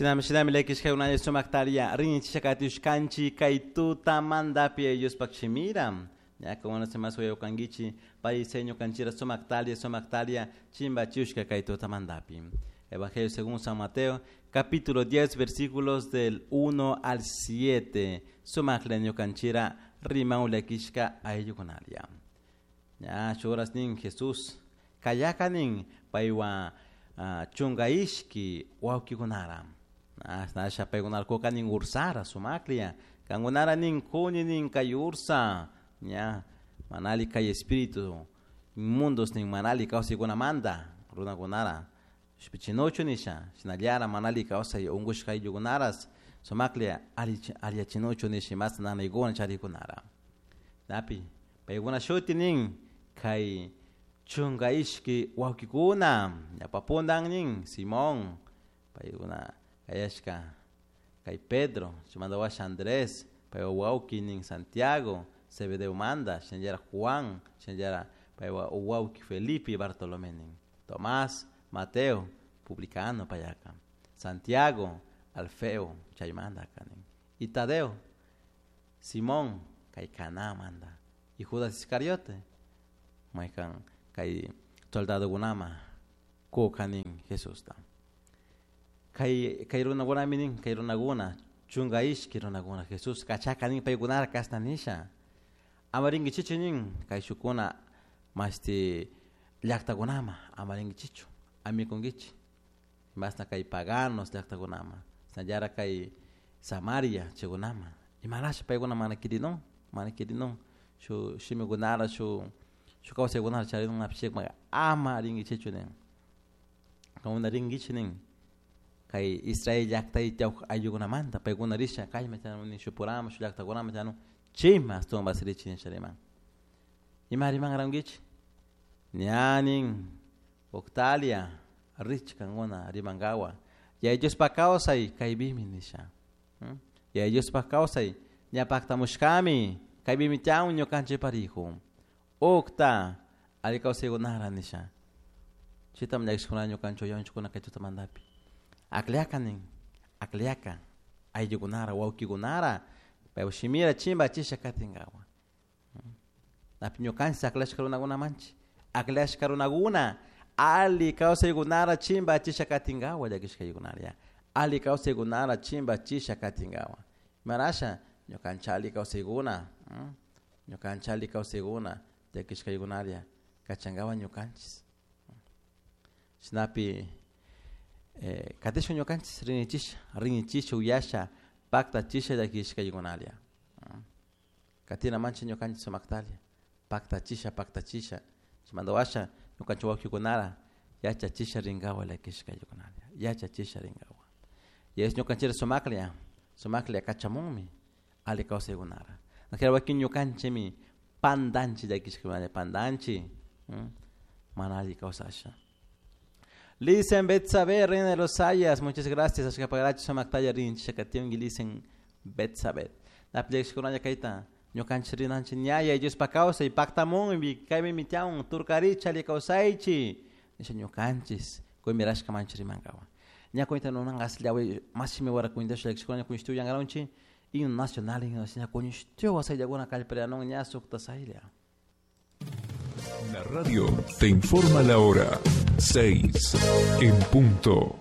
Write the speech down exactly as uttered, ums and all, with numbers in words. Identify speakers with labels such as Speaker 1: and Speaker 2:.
Speaker 1: Shinami shinami llakishkakuna sumaktaria rinchishakatishkanchi kay tutamantapi Diospaq shimira. Ñaka más uyawkankichi pariseño kanchira sumaktalia sumaktalia chimbachiushka kay tutamantapi. Evangelio según San Mateo, capítulo diez, versículos del uno al siete. Sumakleño kanchira riman llakishka ayllukunaria. Ña shuras nin Jesús kayakanin paywa uh, chunga ishki wawkikunara. Asha paykunarkuka nin ursara sumaklia. Kankunara nin kuni nin kay ursa. Ña manali kay espíritu inmundos nin manali kawsaykunamanta runakunara. Shpichinochu nisha shinallara manali kawsay unkushka ayllukunaras sumaklia alliachinochu nisha mas nanaykuna charikunara. Napi paykuna shuti nin kay chunga ishki wawkikuna ñapapuntan nin Simón paykuna kayashka kay Pedro chimanta washa Andrés paywa wawki nin Santiago Zebedeo manda shinallara Juan shinallara paywa wawki Felipe Bartolomé nin Tomás Mateo publicano payaka Santiago Alfeo chaymanta nin y Tadeo Simón kay Caná manda y Judas Iscariote maykan kay soldadokunama kukanin Jesusta. Kay kay runakunami nin kay runakuna chunga ishki runakuna Jesús kachaka nin paykunara kashna nisha ama rinkichichu nin kay shukuna mashti llaktakunama ama rinkichichu amikunkichi masna kay paganos llaktakunama shinallara kay Samaria chaykunama imarasha paykuna mana kirinun mana kirinun shu shimikunara shu shu kawsaykunara charinun apishikma ama rinkichichu nin kankuna rinkichi nin kay Israel llaktay tiyawk ayllukunamanta paykuna risha kayma chanu shupurama shu llaktakunama chanu chayma ashtawan basirichi nisha riman. Ima riman rankichi ña nin Octalia rich kankuna rimankawa Yaya Diospaq kawsay kaypimi nisha. Yaya Diospaq kawsay ña paktamushkami kaypimi tiyan ñukanchik parijo. Ukta alli kawsaykunara nisha. Chaytam llakishkuna ñukanchik uyanchikuna kay tutamantapi. Akllaka nin akllaka ayllukunara wawkikunara paypa shimira chimbachisha katinkawa. Napi ñukanchik aklashka runakunamanchik aklashka runakuna alli kawsaykunara chimbachisha katinkawa llakishkaykunara alli kawsaykunara chimbachisha katinkawa. Imarasha ñukanchik alli kawsaykuna ñukanchik alli kawsaykuna llakishkaykunaria kachankawa ñukanchik. Shinapi eh, katishun ñukanchik rinichisha rinichisha uyasha paktachisha llakishkaykunaria. Katina manchik ñukanchik sumaktalia paktachisha paktachisha chaymanta washa ñukanchik wawkikunara yachachisha rinkawa llakishkaykunaria yachachisha rinkawa. Y es ñukanchik sumaklia sumaklia kachamunmi alli kawsaykunara. Najera wakin ñukanchikmi pandanchik llakishkaykunaria pandanchik mana alli kawsasha. Lisen Betsabe, reina de los Sayas, muchas gracias. Ashkapagarachi sumaktalla rinchisha kationki Lisen Betsabe. Napi llakishkunalla kayta ñukanchik rinanchik ña Yaya Diospaq kawsay paktamunmi kaypimi tiyan turkarichi alli kawsaychi nisha ñukanchik kumirashka manchik rimankawa. Ña kuyta nunanka aslla mas shimi wara kuytasha llakishkunalla kuyshtu uyankaranchik himno nacional himno ña kuyshtu wasayllakuna kallparianun ña sukta saylla.
Speaker 2: La radio te informa la hora seis en punto.